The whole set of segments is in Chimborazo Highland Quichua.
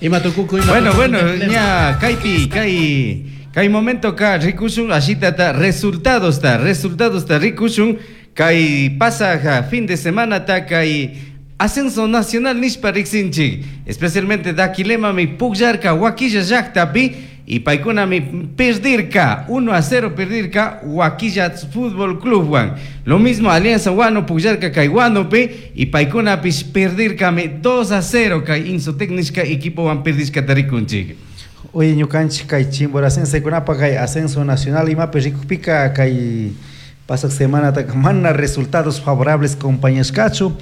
Ima tukuku ima Bueno, tukuku bueno, Dakilema. ña kaypi kay kay momentoka rikushun ashitata resultadosta resultadosta rikushun kay pasaj fin de semanata kay ascenso nacional nishpa riksinchik, especialmente Daquilemami pukllarka Huaquilla llaktapi y paykunami perdirka 1-0 perdirka Huaquilla Fútbol Clubwan. Lo mismo Alianza Huano pukllarka kay Huánupi y paykunapish perdirkami 2-0 kay Insotec nishka equipowan perdishkata rikunchik. Oye, ñukanchik kay chimboracensekunapaj kay ascenso nacional imapi rikukpika kay pasaq semanataka mana resultados favorables compañashkachu.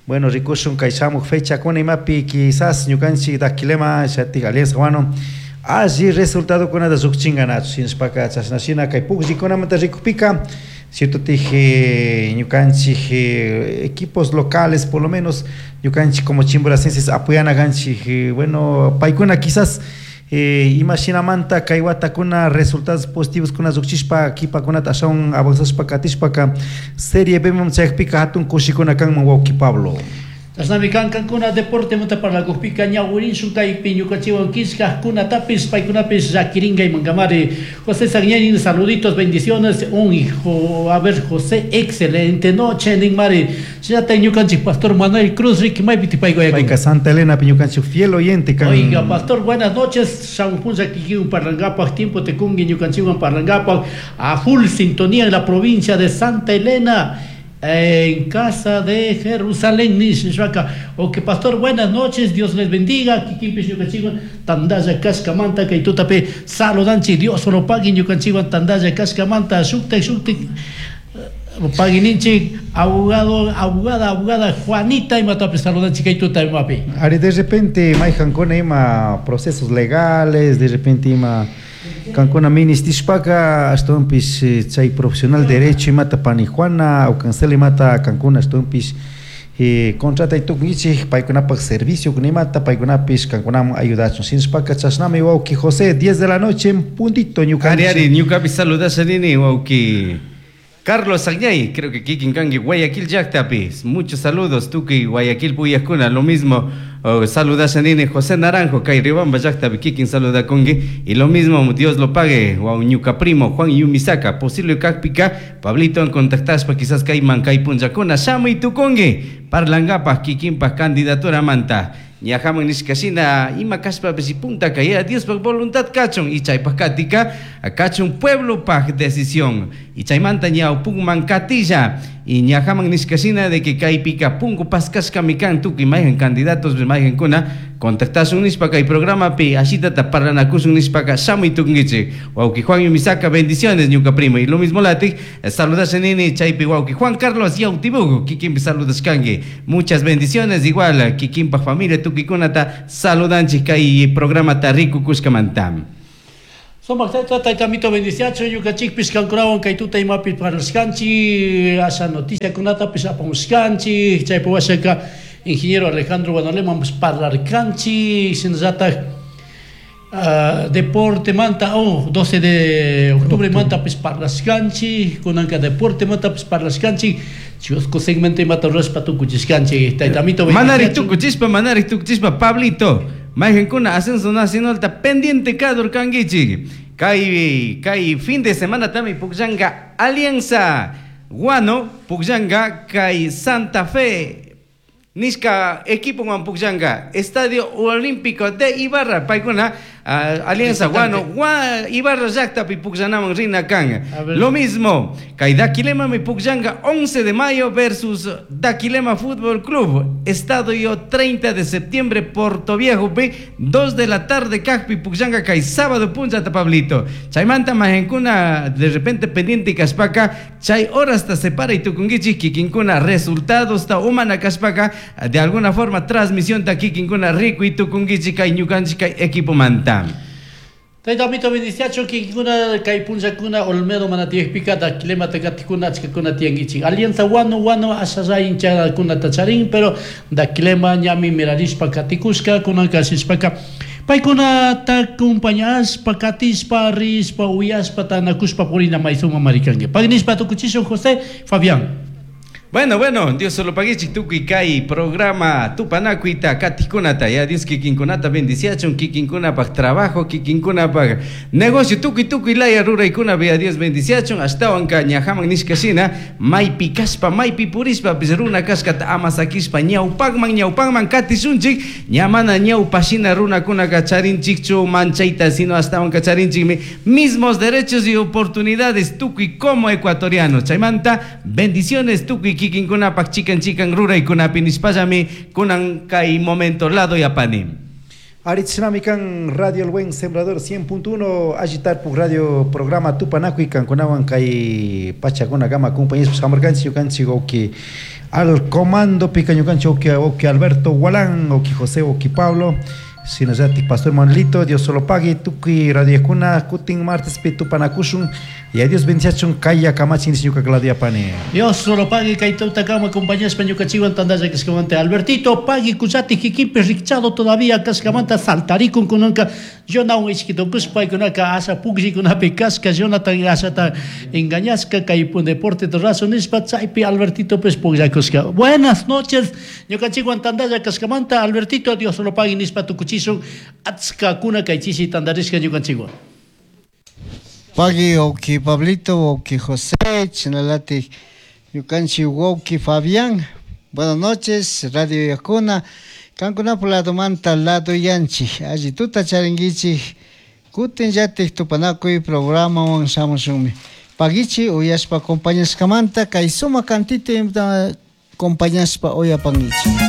Bueno, rikushun kay shamuj fechakuna imapi quizás ñukanchik Daquilema shatik Alianza Huano alli resultadokunata llukchinkanachu shinashpaka chashna shina kay pukllikunamanta rikukpika cierto tij ñukanchik equipos locales por lo menos ñukanchik como chimboracenses apoyana kanchik, bueno, paykuna quizás ima shinamanta kay watakuna resultados positivos kuna llukchishpa kipakunata ashawan avanzashpa katishpaka Serie B man chayakpika hatun kushikuna kanman wawki Pablo. Chashnami kan kankuna deportemanta parlakukpika ñawirinshun kaypi ñukanchikwan killkajkunatapis paykunapis llakirinka imankamari. José Sagñani, saluditos, bendiciones, un hijo, a ver, José, excelente noche, ninmari. Shinata ñukanchik pastor Manuel Cruz, Ricky maypi paykuya. Payka Santa Elena ñukanchik fiel oyente kan. Oiga, pastor, buenas noches. Shamuj punlla kikin parlankapaj, tiempo te kungi ñukanchikwan parlankapaj, a full sintonía en la provincia de Santa Elena, en casa de Jerusalén, nishpaka. Ok, pastor, buenas noches, Dios les bendiga. Kikinpish ñukanchikwan tandalla kashkamanta kay tutapi saludanchik, Dios solo pagui ñukanchikwan tandalla kashkamanta, shuktik shuktik paguininchik abogado, abogada, abogada Juanita imatapish saludanchik kay tuta imapi. Ari de repente mayhankuna ima procesos legales, de repente ima kankuna ministishpaka ashtawanpish chay profesional derecho imata pani Juana o cancel imata kankuna ashtawanpish contratay tukunkichik paykunapak servicio imata paykunapish kankunaman ayudachun shinashpaka chashnami wawki José 10 de la noche en puntito ñukanchik. Ari, ari, ñukapish saludasha nini wawki Carlos Agnay, creo que kikin kanki Guayaquil llaktapi. Muchos saludos, tukuy Guayaquil puyakuna, lo mismo saludasha nini José Naranjo, kay Riobamba llaktapi kikin saludakunki. Y lo mismo, Dios lo pague, waw ñuka primo Juan Yumisaka, posible kakpika, Pablito en contactashpa quizás kayman kay punllakuna shamuy tukunki, parlankapaj kikinpaj candidatura manta. Ñajaman nishka shina ima kashpapish puntaka ya Diospaj voluntad kachun y chaypaj katika kachun pueblopaj decisión y chaymanta ñawpunman katilla y ñajaman nishka shina de que kaypika punku paskashkami kan tukuy mayhan candidatos mayhankuna contactashun nishpa kay programapi ashitata parlanakushun nishpaka shamuy tukunkichik. Wawki Juan Yumisaka, bendiciones ñuka primo. Y lo mismo latik saludasha nini chaypi wawki Juan Carlos Yautibugo kikinpi saludashkanki. Muchas bendiciones igual kikinpaj familia tukuykunata saludanchik kay programata rikukushkamanta. Sumak tayta, taytamito bendiciacho, ñukanchikpish kankunawan kay tuta imapi parlashkanchik, asha noticiakunatapish apamushkanchik, chaypi washaka ingeniero Alejandro Guanolemapish parlarkanchik, shinallatak deporte manta, oh, 12 de octubre mantapish parlashkanchik, kunanka deporte mantapish parlashkanchik, chusku segmento imata rurashpa tukuchishkanchik, taytamito Manari bendiciacho. tukuchishpa, manari tukuchishpa, Pablito, mayhankuna ascenso nacionalta pendiente kadur kankichik. Kay, kay fin de semana tami pukllanka Alianza Huano, pukllanka kay Santa Fe nishka equipo wan pukllanka Estadio Olímpico de Ibarra, paykuna, Alianza Huano, Ibarra llaktapi pukllanaman rina kan. A ver. Lo mismo, kay Daquilema mi pukllanka 11 de mayo versus Daquilema Fútbol Club, Estadio 30 de septiembre, Portoviejo Viejo, 2 de la tarde, kajpi pukllanka kay sábado punchata, Pablito. Chaymanta majankuna de repente pendiente kashpaka, chay horas ta separa y tukunkichik kikinkuna resultados ta umana kashpaka, de alguna forma transmisión ta kikinkuna riku y tukunkichik kay ñukanchik kay equipo manta. Taytamito bendiciacho kikinkuna kay punllakuna Olmedo manatiyakpika Daquilema takatikuna achkakuna tiyankichik. Alianza Huano, Huano ashalla hinchakuna tacharin, pero Daquilema ñami mirarishpa katikushka kunanka ashishpaka paykunata acompañashpa katishpa rishpa uyashpa tanakushpa purina maysuma marikanki. Pagnishpa tukuchishun José Fabián. Bueno, bueno, Dios solo paguichik tukuy kay programa tupanakuyta katikkunata ya Dios kikinkunata bendiciachun kikinkunapaq trabajo kikinkunapaq negocio tukuy tukuy laya ruraykuna ya Dios bendiciachun ashtawanka ñajaman nishka shina maypi kashpa maypi purishpapis runa kashkata ama sakishpa ñawpakman ñawpakman katishunchik ña mana ñawpa shina runakunaka charinchikchu manchayta sino ashtawanka charinchikmi mismos derechos y oportunidades tukuy como ecuatorianos. Chaymanta bendiciones tukuy kikinkunapak chikan chikan ruraykunapi nishpallami kunan kay momento lado yapani. Aritzinami kan Radio El Buen Sembrador 100.1 Agitarpuk Radio programa Tupanakuy kankunawan kay pachakuna kama compañeros hamurkanchik ñukanchik wawki al comando pika ñukanchik wawki wawki Alberto Gualán wawki José wawki Pablo shinallatik Pastor Manuelito Dios solo pague tukuy radiokuna kutin martespi tupanakushun y a Dios bendiciachun kaya kamachin ñuka Claudia Pane. Dios solo pague kay tutakama compañeros ñukanchikwan tandalla kashkamanta Albertito pague kuchati kikinpi rikchado todavía kashkamanta saltarikun kunanka Jonah ishkitukush paykunaka asha pukllikunapi kashka Jonathan ashata engañashka kay deporte razo nishpa chaypi Albertito pues pukllakushka. Buenas noches ñukanchikwan tandalla kashkamanta Albertito Dios solo pague nishpa tukuchishun achkakuna kay chishi tandarishka ñukanchikwan. Pagui wawki Pablito, wawki José, chinalatik ñukanchik wawki Fabián. Buenas noches, Radio Yakuna. Kankunapak ladomanta lado yanchik, alli tuta charinkichik, kutin llatik tupanakuy programawan shamushunmi. Pagichi uyashpa acompañashkamanta kay sumak cantito acompañashpa uyapankichik.